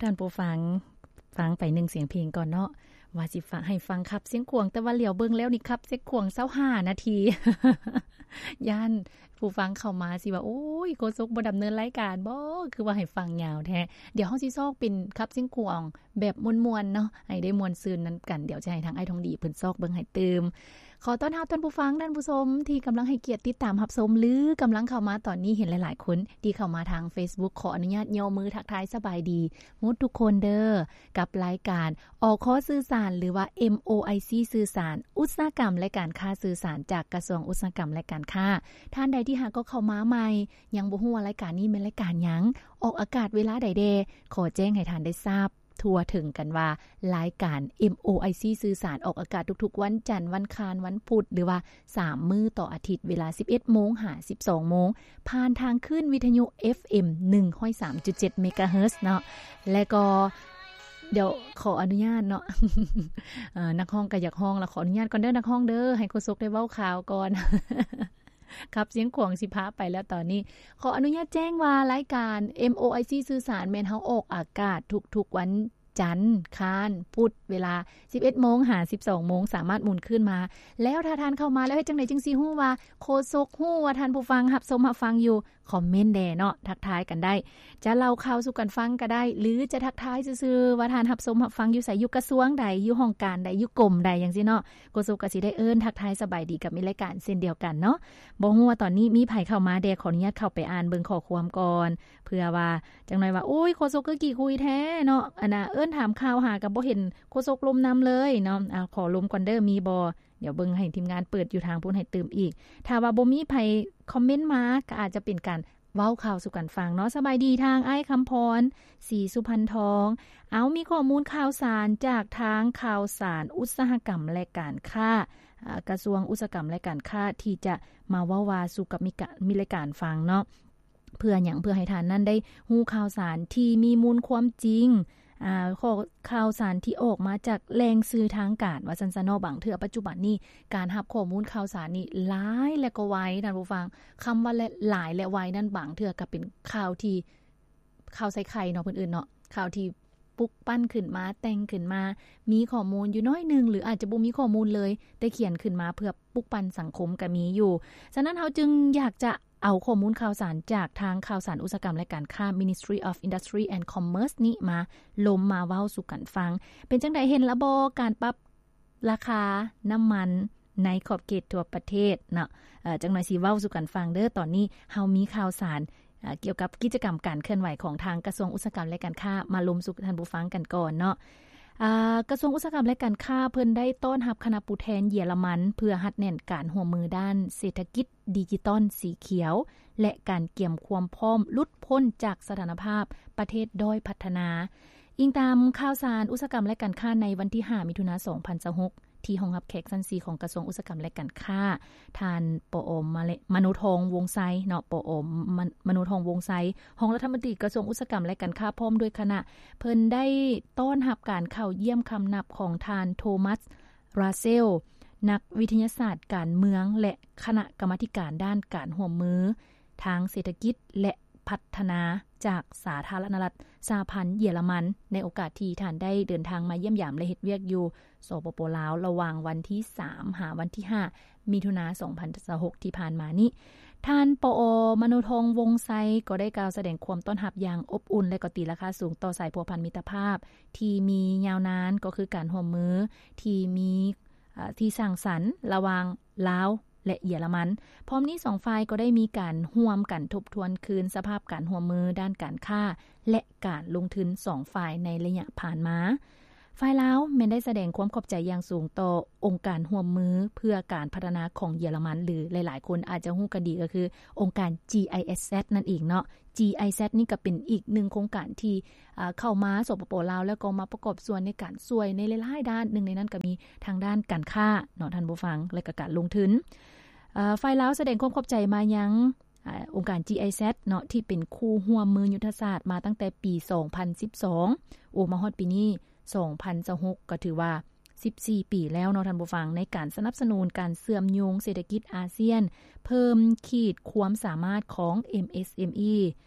ທ່ານຜູ້ຟັງ ຟັງໄປໜຶ່ງສຽງເພງກ່ອນເນາະ ວ່າຊິຝາກໃຫ້ຟັງຂັບຊຽງຂວາງ ແຕ່ວ່າຫຼຽວເບິ່ງແລ້ວນີ້ຂັບຊຽງຂວາງຊາວຫ້ານາທີ ຢ້ານຜູ້ຟັງເຂົ້າມາຊິວ່າ ໂອ້ຍ ໂຄສົກບໍ່ດຳເນີນລາຍການບໍ ຄືວ່າໃຫ້ຟັງຍາວແທ້. ດຽວເຮົາຊິຊອກເປັນຂັບຊຽງຂວາງແບບມ່ວນໆເນາະ ໃຫ້ໄດ້ມ່ວນຊື່ນນຳກັນ. ດຽວຈະໃຫ້ທາງອ້າຍທອງດີເພິ່ນຊອກເບິ່ງໃຫ້ຕື່ມ. ຂໍຕ້ອນຮັບທ່ານຜູ້ຟັງ, ທ່ານຜູ້ຊົມທີ່ກຳລັງໃຫ້ກຽດຕິດຕາມຮັບຊົມ ຫຼື ກຳລັງເຂົ້າມາຕອນນີ້. ເຫັນຫຼາຍໆຄົນທີ່ເຂົ້າມາທາງເຟສບຸກ ຂໍອະນຸຍາດຍົກມືທັກທາຍສະບາຍດີໝົດທຸກຄົນເດີ ກັບລາຍການ ອຄ ສື່ສານ ຫຼືວ່າ ເອັມໂອໄອຊີ ສື່ສານ ອຸດສາຫະກຳ ແລະ ການຄ້າ ສື່ສານ ຈາກກະຊວງອຸດສາຫະກຳ ແລະ ການຄ້າ. ທ່ານໃດທີ່ຫາກກໍເຂົ້າມາໃໝ່ ຍັງບໍ່ຮູ້ວ່າລາຍການນີ້ແມ່ນລາຍການຫຍັງ ອອກອາກາດເວລາໃດແດ່ ຂໍແຈ້ງໃຫ້ທ່ານໄດ້ຊາບ ທົ່ວເຖິງກັນວ່າ ລາຍການ ເອັມໂອໄອຊີ ສື່ສານ ອອກອາກາດທຸກໆວັນຈັນ, ວັນຄານ, ວັນພຸດ ຫຼືວ່າສາມມື້ຕໍ່ອາທິດ ເວລາສິບເອັດໂມງຫາສິບສອງໂມງ ຜ່ານທາງຄື້ນວິທະຍຸ ເອັຟເອັມ ໜຶ່ງຮ້ອຍສາມຈຸດເຈັດ ເມກາເຮີດເນາະ. ແລະກໍ ດຽວຂໍອະນຸຍາດເນາະ ເອີ ນັກຮ້ອງກໍຢາກຮ້ອງລະ ຂໍອະນຸຍາດກ່ອນເດີ ນັກຮ້ອງເດີ ໃຫ້ໂຄສົກໄດ້ເວົ້າຂ່າວກ່ອນ. ຂັບຊຽງຂວາງຊິພາໄປແລ້ວຕອນນີ້. ຂໍອະນຸຍາດແຈ້ງວ່າລາຍການ ເອັມໂອໄອຊີ ສື່ສານ ແມ່ນເຮົາອອກອາກາດທຸກໆວັນຈັນ, ຄານ, ພຸດ ເວລາສິບເອັດໂມງຫາສິບສອງໂມງ ສາມາດໝູນຄືນມາ. ແລ້ວຖ້າທ່ານເຂົ້າມາແລ້ວ ເຮັດຈັ່ງໃດຈຶ່ງຊິຮູ້ວ່າ ໂຄສົກຮູ້ວ່າທ່ານຜູ້ຟັງຮັບຊົມຮັບຟັງຢູ່? ຄອມເມັນແດ່ເນາະ ທັກທາຍກັນໄດ້. ຈະເລົ່າຂ່າວສູ່ກັນຟັງກໍໄດ້ ຫຼື ຈະທັກທາຍຊື່ໆວ່າທ່ານຮັບຊົມຮັບຟັງຢູ່ໃສ, ຢູ່ກະຊວງໃດ, ຢູ່ຫ້ອງການໃດ, ຢູ່ກົມໃດ ຈັ່ງຊີ້ເນາະ. ໂຄສົກກໍຊິໄດ້ເອີ້ນທັກທາຍສະບາຍດີກັບມິດລາຍການເຊັ່ນດຽວກັນເນາະ. ບໍ່ຮູ້ວ່າຕອນນີ້ມີໃຜເຂົ້າມາແດ່ ຂໍອະນຸຍາດເຂົ້າໄປອ່ານເບິ່ງຂໍ້ຄວາມກ່ອນ ເພື່ອວ່າຈັກໜ້ອຍວ່າ ໂອ້ຍ ໂຄສົກຄືຂີ້ຄຸຍແທ້ເນາະ ອັນນ່າ ເອີ້ນຖາມຂ່າວຫາກໍບໍ່ເຫັນໂຄສົກລົມນຳເລີຍເນາະ. ອາ ຂໍລົມກ່ອນເດີ ມີບໍ່? ດຽວເບິ່ງໃຫ້ທີມງານເປີດຢູ່ທາງພຸ້ນໃຫ້ຕື່ມອີກ. ຖ້າວ່າບໍ່ມີໃຜຄອມເມັນມາ ກໍອາດຈະເປັນການເວົ້າຂ່າວສູ່ກັນຟັງເນາະ. ສະບາຍດີທາງອ້າຍຄຳພອນ ສີສຸພັນທອງ. ເອົາ ມີຂໍ້ມູນຂ່າວສານຈາກທາງຂ່າວສານອຸດສາຫະກຳ ແລະ ການຄ້າ ອາ ກະຊວງອຸດສາຫະກຳ ແລະ ການຄ້າ ທີ່ຈະມາເວົ້າວ່າສູ່ກັບມິກະ ມິດລາຍການຟັງເນາະ. ເພື່ອຫຍັງ? ເພື່ອໃຫ້ທ່ານນັ້ນໄດ້ຮູ້ຂ່າວສານທີ່ມີມູນຄວາມຈິງ ອາ ຂໍ້ ຂ່າວສານທີ່ອອກມາຈາກແຫຼ່ງສື່ທາງການ ວ່າຊັ້ນຊະເນາະ. ບາງເທື່ອປັດຈຸບັນນີ້ ການຮັບຂໍ້ມູນຂ່າວສານນີ້ຫຼາຍ ແລະ ກໍໄວ ທ່ານຜູ້ຟັງ. ຄຳວ່າ ແລະ ຫຼາຍ ແລະ ໄວນັ້ນ ບາງເທື່ອກໍເປັນຂ່າວທີ່ ຂ່າວໃສ່ໄຂ່ເນາະ ເພິ່ນເອີ້ນເນາະ ຂ່າວທີ່ປຸກປັ້ນຂຶ້ນມາ ແຕ່ງຂຶ້ນມາ ມີຂໍ້ມູນຢູ່ໜ້ອຍໜຶ່ງ ຫຼື ອາດຈະບໍ່ມີຂໍ້ມູນເລີຍ ແຕ່ຂຽນຂຶ້ນມາເພື່ອປຸກປັ້ນສັງຄົມກໍມີຢູ່. ສະນັ້ນ ເຮົາຈຶ່ງຢາກຈະ ເອົາຂໍ້ມູນຂ່າວສານຈາກທາງຂ່າວສານອຸດສາຫະກຳ ແລະ ການຄ້າ Ministry of Industry and Commerce ນີ້ມາລົມມາເວົ້າສູ່ກັນຟັງ. ເປັນຈັ່ງໃດ ເຫັນລະບໍ່ ການປັບລາຄານ້ຳມັນໃນຂອບເຂດທົ່ວປະເທດເນາະ? ເອີ ຈັກໜ້ອຍຊິເວົ້າສູ່ກັນຟັງເດີ. ຕອນນີ້ເຮົາມີຂ່າວສານ ເອີ ກ່ຽວກັບກິດຈະກຳການເຄື່ອນໄຫວຂອງທາງກະຊວງອຸດສາຫະກຳ ແລະ ການຄ້າ ມາລົມສູ່ທ່ານຜູ້ຟັງກັນກ່ອນເນາະ. ອາ ກະຊວງອຸດສາຫະກຳ ແລະ ການຄ້າ ເພິ່ນໄດ້ຕ້ອນຮັບຄະນະຜູ້ແທນເຢຍລະມັນ ເພື່ອຮັດແໜ້ນການຮ່ວມມືດ້ານເສດຖະກິດ ດິຈິຕອນສີຂຽວ ແລະ ການກຽມຄວາມພ້ອມຫຼຸດພົ້ນຈາກສະຖານະພາບປະເທດດ້ອຍພັດທະນາ. ອີງຕາມຂ່າວສານອຸດສາຫະກຳ ແລະ ການຄ້າ ໃນວັນທີຫ້າ ມິຖຸນາ ສອງພັນຊາວຫົກ ທີ່ຫ້ອງຮັບແຂກຊັ້ນສີ່ຂອງກະຊວງອຸດສາຫະກຳ ແລະ ການຄ້າ, ທ່ານ ປອ ມະເລ ມະໂນທອງ ວົງໄຊ ເນາະ, ປອ ມະ ມະໂນທອງ ວົງໄຊ, ຮອງລັດຖະມົນຕີກະຊວງອຸດສາຫະກຳ ແລະ ການຄ້າ ພ້ອມດ້ວຍຄະນະ, ເພິ່ນໄດ້ຕ້ອນຮັບການເຂົ້າຢ້ຽມຄຳນັບຂອງທ່ານ ໂທມັສ ຣາເຊລ, ນັກວິທະຍາສາດການເມືອງ ແລະ ຄະນະກຳມາທິການດ້ານການຮ່ວມມືທາງເສດຖະກິດ ແລະ ພັດທະນາ ຈາກສາທາລະນະລັດສະຫະພັນເຢຍລະມັນ ໃນໂອກາດທີ່ທ່ານໄດ້ເດີນທາງມາຢ້ຽມຢາມ ແລະ ເຮັດວຽກຢູ່ ສປປ ລາວ ລະຫວ່າງວັນທີສາມ ຫາວັນທີຫ້າ ມິຖຸນາ ສອງພັນຊາວຫົກ ທີ່ຜ່ານມານີ້. ທ່ານ ປອ ມະໂນທອງ ວົງໄຊ ກໍໄດ້ກ່າວສະແດງຄວາມຕ້ອນຮັບຢ່າງອົບອຸ່ນ ແລະ ກໍຕີລາຄາສູງຕໍ່ສາຍພົວພັນມິດຕະພາບທີ່ມີຍາວນານ, ກໍຄືການຮ່ວມມືທີ່ມີ ເອີ ທີ່ສ້າງສັນລະຫວ່າງລາວ ແລະ ເຢຍລະມັນ. ພ້ອມນີ້ສອງຝ່າຍກໍໄດ້ມີການຮ່ວມກັນທົບທວນຄືນສະພາບການຮ່ວມມືດ້ານການຄ້າ ແລະ ການລົງທຶນສອງຝ່າຍໃນໄລຍະຜ່ານມາ. ຝ່າຍລາວແມ່ນໄດ້ສະແດງຄວາມຂອບໃຈຢ່າງສູງຕໍ່ອົງການຮ່ວມມືເພື່ອການພັດທະນາຂອງເຢຍລະມັນ ຫຼື ຫຼາຍໆຄົນອາດຈະຮູ້ກັນດີກໍຄືອົງການ GIZ ນັ້ນເອງເນາະ. GIZ ນີ້ກໍເປັນອີກໜຶ່ງໂຄງການທີ່ ເອີ ເຂົ້າມາ ສປປ ລາວ ແລ້ວກໍມາປະກອບສ່ວນໃນການຊ່ວຍໃນຫຼາຍໆດ້ານ, ໜຶ່ງໃນນັ້ນກໍມີທາງດ້ານການຄ້າເນາະ ທ່ານຜູ້ຟັງ ແລະ ກໍການລົງທຶນ. ເອີ ຝ່າຍລາວສະແດງຄວາມຂອບໃຈມາຍັງ ອາ ອົງການ GIZ ເນາະ ທີ່ເປັນຄູ່ຮ່ວມມືຍຸດທະສາດມາຕັ້ງແຕ່ປີສອງພັນສິບສອງ ໂອ ມາຮອດປີນີ້ ສອງພັນຊາວຫົກ ກໍຖືວ່າສິບສີ່ປີແລ້ວເນາະ ທ່ານຜູ້ຟັງ, ໃນການສະໜັບສະໜູນການເຊື່ອມໂຍງເສດຖະກິດອາຊຽນ, ເພີ່ມຂີດຄວາມສາມາດຂອງ MSME,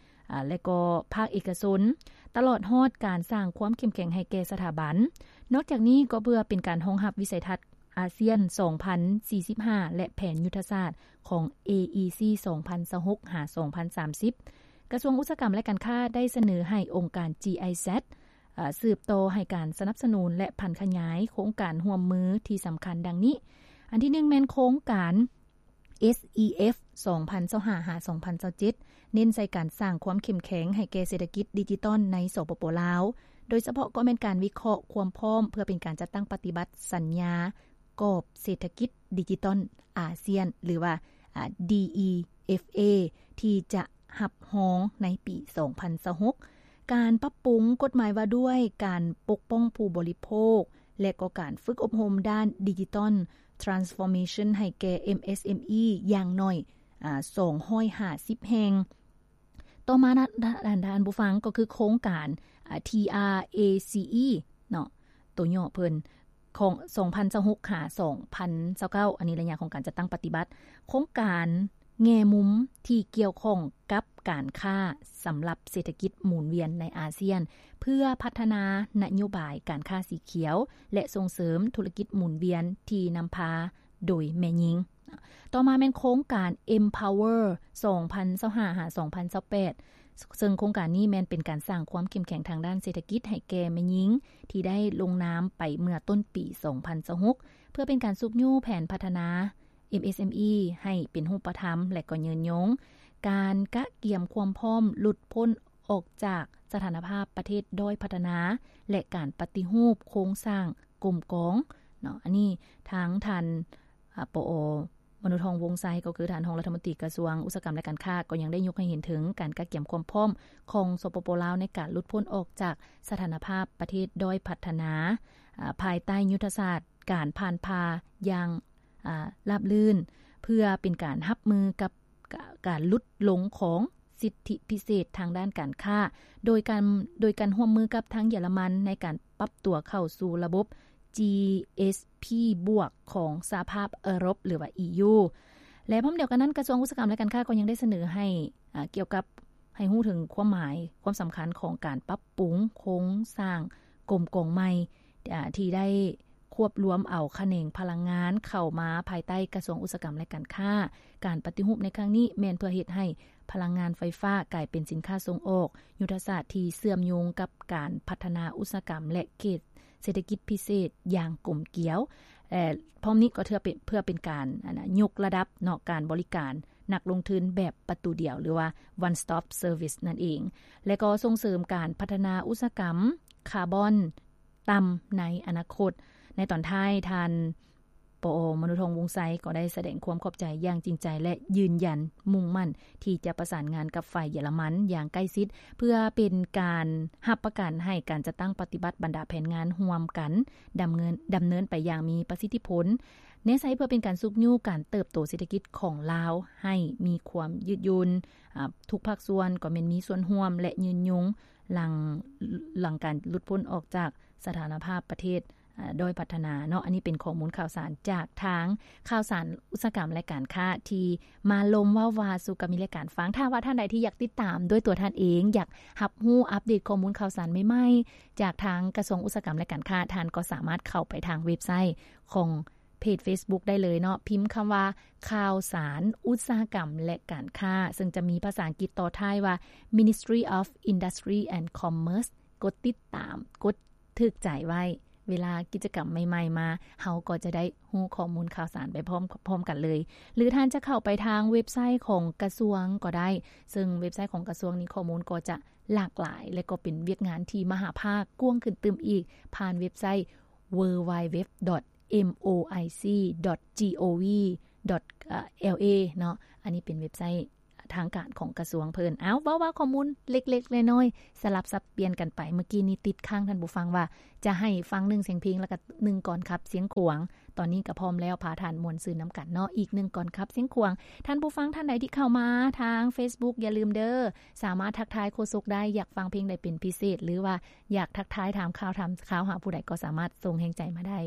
ອາ ແລະກໍພາກເອກະຊົນ, ຕະຫຼອດຮອດການສ້າງຄວາມເຂັ້ມແຂງໃຫ້ແກ່ສະຖາບັນ. ນອກຈາກນີ້ກໍເພື່ອເປັນການຮອງຮັບວິໄສທັດອາຊຽນສອງພັນສີ່ສິບຫ້າ ແລະແຜນຍຸດທະສາດຂອງ ເອອີຊີ ສອງພັນຊາວຫົກ ຫາ ສອງພັນສາມສິບ, ກະຊວງອຸດສາຫະກຳ ແລະ ການຄ້າໄດ້ສະເໜີໃຫ້ອົງການ ຈີໄອແຊັດ ອາ ສືບຕໍ່ໃຫ້ການສະໜັບສະໜູນ ແລະ ຜັນຂະຫຍາຍໂຄງການຮ່ວມມືທີ່ສຳຄັນດັ່ງນີ້. ອັນທີໜຶ່ງແມ່ນໂຄງການ ເອສອີເອັຟ ສອງພັນຊາວຫ້າ ຫາ ສອງພັນຊາວເຈັດ ເນັ້ນໃສ່ການສ້າງຄວາມເຂັ້ມແຂງໃຫ້ແກ່ເສດຖະກິດດິຈິຕອນໃນ ສປປ ລາວ, ໂດຍສະເພາະກໍແມ່ນການວິເຄາະຄວາມພ້ອມເພື່ອເປັນການຈັດຕັ້ງປະຕິບັດສັນຍາກອບເສດຖະກິດດິຈິຕອນອາຊຽນ ຫຼືວ່າ ອາ ດີອີເອັຟເອ ທີ່ຈະ ຮັບຮອງໃນປີສອງພັນຊາວຫົກ, ການປັບປຸງກົດໝາຍວ່າດ້ວຍການປົກປ້ອງຜູ້ບໍລິໂພກ ແລະ ກໍການຝຶກອົບຮົມດ້ານ Digital Transformation ໃຫ້ແກ່ ເອັມເອສເອັມອີ ຢ່າງໜ້ອຍ ອາ ສອງຮ້ອຍຫ້າສິບແຫ່ງ. ຕໍ່ມານະ ທ່ານ ທ່ານ ທ່ານຜູ້ຟັງ ກໍຄືໂຄງການ ອາ ທີອາເອຊີອີ ເນາະ ໂຕຫຍໍ້ເພິ່ນ ຂອງສອງພັນຊາວຫົກ ຫາ ສອງພັນຊາວເກົ້າ ອັນນີ້ໄລຍະຂອງການຈັດຕັ້ງປະຕິບັດ. ໂຄງການແງ່ມຸມທີ່ກ່ຽວຂ້ອງກັບການຄ້າສຳລັບເສດຖະກິດໝູນວຽນໃນອາຊຽນ ເພື່ອພັດທະນານະໂຍບາຍການຄ້າສີຂຽວ ແລະ ສົ່ງເສີມທຸລະກິດໝູນວຽນທີ່ນຳພາໂດຍແມ່ຍິງ. ຕໍ່ມາແມ່ນໂຄງການ Empower ສອງພັນຊາວຫ້າ ຫາ ສອງພັນຊາວແປດ ເຊິ່ງໂຄງການນີ້ແມ່ນເປັນການສ້າງຄວາມເຂັ້ມແຂງທາງດ້ານເສດຖະກິດໃຫ້ແກ່ແມ່ຍິງ ທີ່ໄດ້ລົງນາມໄປເມື່ອຕົ້ນປີສອງພັນຊາວຫົກ ເພື່ອເປັນການຊຸກຍູ້ແຜນພັດທະນາ ເອັມເອສເອັມອີ ໃຫ້ເປັນຮູບປະທຳ ແລະ ກໍຍືນຍົງ, ການກະກຽມຄວາມພ້ອມຫຼຸດພົ້ນອອກຈາກສະຖານະພາບປະເທດດ້ອຍພັດທະນາ ແລະ ການປະຕິຮູບໂຄງສ້າງກົມກອງເນາະ. ອັນນີ້ທາງທ່ານ ອາ ປອ ມະນຸທອງ ວົງໄຊ ກໍຄືທ່ານຮອງລັດຖະມົນຕີກະຊວງອຸດສາຫະກຳ ແລະ ການຄ້າ ກໍຍັງໄດ້ຍົກໃຫ້ເຫັນເຖິງການກະກຽມຄວາມພ້ອມຂອງ ສປປ ລາວ ໃນການຫຼຸດພົ້ນອອກຈາກສະຖານະພາບປະເທດດ້ອຍພັດທະນາ ອາ ພາຍໃຕ້ຍຸດທະສາດການຜ່ານຜ່າຢ່າງ ອາ ລາບລື່ນ ເພື່ອເປັນການຮັບມືກັບ ກາ ການຫຼຸດລົງຂອງສິດທິພິເສດທາງດ້ານການຄ້າ ໂດຍການ ໂດຍການຮ່ວມມືກັບທາງເຢຍລະມັນໃນການປັບຕົວເຂົ້າສູ່ລະບົບ ຈີເອສພີ ບວກ ຂອງສະຫະພາບເອີຣົບ ຫຼືວ່າ ອີຢູ ແລະ ພ້ອມດຽວກັນນັ້ນ ກະຊວງອຸດສາຫະກຳ ແລະ ການຄ້າ ກໍຍັງໄດ້ສະເໜີໃຫ້ ອາ ກ່ຽວກັບ ໃຫ້ຮູ້ເຖິງຄວາມໝາຍ ຄວາມສຳຄັນຂອງການປັບປຸງໂຄງສ້າງກົມກອງໃໝ່ ອາ ທີ່ໄດ້ ຄວບລວມເອົາຂະແໜງພະລັງງານເຂົ້າມາພາຍໃຕ້ກະຊວງອຸດສາຫະກຳ ແລະ ການຄ້າ. ການປະຕິຮູບໃນຄັ້ງນີ້ແມ່ນເພື່ອເຮັດໃຫ້ພະລັງງານໄຟຟ້າກາຍເປັນສິນຄ້າສົ່ງອອກ, ຍຸດທະສາດທີ່ເຊື່ອມໂຍງກັບການພັດທະນາອຸດສາຫະກຳ ແລະ ເຂດເສດຖະກິດພິເສດຢ່າງກົມກຽວ ແລະ ພ້ອມນີ້ກໍເພື່ອເປັນ ເພື່ອເປັນການ ອັນນະ ຍົກລະດັບເນາະ ການບໍລິການນັກລົງທຶນແບບປະຕູດຽວ ຫຼືວ່າ One Stop Service ນັ້ນເອງ ແລະ ກໍສົ່ງເສີມການພັດທະນາອຸດສາຫະກຳຄາບອນ ຕ່ຳໃນອະນາຄົດ. ໃນຕອນທ້າຍ ທ່ານ ປອ ມະນຸທອງ ວົງໄຊ ກໍໄດ້ສະແດງຄວາມຂອບໃຈຢ່າງຈິງໃຈ ແລະ ຢືນຢັນມຸ່ງໝັ້ນທີ່ຈະປະສານງານກັບຝ່າຍເຢຍລະມັນຢ່າງໃກ້ຊິດ ເພື່ອເປັນການຮັບປະກັນໃຫ້ການຈັດຕັ້ງປະຕິບັດບັນດາແຜນງານຮ່ວມກັນ ດຳເນີນ ດຳເນີນໄປຢ່າງມີປະສິດທິຜົນ ແນໃສ່ເພື່ອເປັນການຊຸກຍູ້ການເຕີບໂຕເສດຖະກິດຂອງລາວໃຫ້ມີຄວາມຍືດຫຍຸ່ນ. ອາ ທຸກພາກສ່ວນກໍແມ່ນມີສ່ວນຮ່ວມ ແລະ ຍືນຍົງ ຫຼັງ ຫຼັງການຫຼຸດພົ້ນອອກຈາກສະຖານະພາບປະເທດ ອາ ດ້ອຍພັດທະນາເນາະ. ອັນນີ້ເປັນຂໍ້ມູນຂ່າວສານຈາກທາງຂ່າວສານອຸດສາຫະກຳ ແລະ ການຄ້າ ທີ່ມາລົມເວົ້າວ່າສູ່ກັບມິດ ແລະ ການຟັງ. ຖ້າວ່າທ່ານໃດທີ່ຢາກຕິດຕາມດ້ວຍຕົວທ່ານເອງ, ຢາກຮັບຮູ້ອັບເດດຂໍ້ມູນຂ່າວສານໃໝ່ໆ ຈາກທາງກະຊວງອຸດສາຫະກຳ ແລະ ການຄ້າ, ທ່ານກໍສາມາດເຂົ້າໄປທາງເວັບໄຊຂອງ ເພຈ Facebook ໄດ້ເລີຍເນາະ, ພິມຄຳວ່າ ຂ່າວສານອຸດສາຫະກຳ ແລະ ການຄ້າ, ເຊິ່ງຈະມີພາສາອັງກິດຕໍ່ທ້າຍວ່າ Ministry of Industry and Commerce. ກົດຕິດຕາມ, ກົດຖືກໃຈໄວ້. ເວລາກິດຈະກຳໃໝ່ໆມາ, ເຮົາກໍຈະໄດ້ຮູ້ຂໍ້ມູນຂ່າວສານໄປພ້ອມ, ພ້ອມກັນເລີຍ. ຫຼືທ່ານຈະເຂົ້າໄປທາງເວັບໄຊຂອງກະຊວງກໍໄດ້, ເຊິ່ງເວັບໄຊຂອງກະຊວງນີ້ ຂໍ້ມູນກໍຈະຫຼາກຫຼາຍ ແລະ ກໍເປັນວຽກງານທີ່ມະຫາພາກກວ້າງຂຶ້ນຕື່ມອີກ ຜ່ານເວັບໄຊ www.moic.gov.la ເນາະ. ອັນນີ້ເປັນເວັບໄຊທາງການຂອງກະຊວງເພິ່ນ. ເອົາ ເວົ້າວ່າຂໍ້ມູນເລັກໆນ້ອຍໆ ສະຫຼັບສັບປ່ຽນກັນໄປ. ເມື່ອກີ້ນີ້ຕິດຄ້າງທ່ານຜູ້ຟັງວ່າ ຈະໃຫ້ຟັງໜຶ່ງສຽງເພງ ແລ້ວກໍໜຶ່ງກອນຂັບສຽງຂວາງ. ຕອນນີ້ກໍພ້ອມແລ້ວ, ພາທ່ານມ່ວນຊື່ນນຳກັນເນາະ ອີກໜຶ່ງກອນຂັບສຽງຂວາງ. ທ່ານຜູ້ຟັງທ່ານໃດທີ່ເຂົ້າມາທາງ Facebook ຢ່າລືມເດີ ສາມາດທັກທາຍໂຄສົກໄດ້, ຢາກຟັງເພງໃດເປັນພິເສດ ຫຼືວ່າຢາກທັກທາຍ ຖາມຂ່າວ ຖາມຂ່າວຫາຜູ້ໃດ ກໍສາມາດສົ່ງແຮງໃຈມາໄດ້.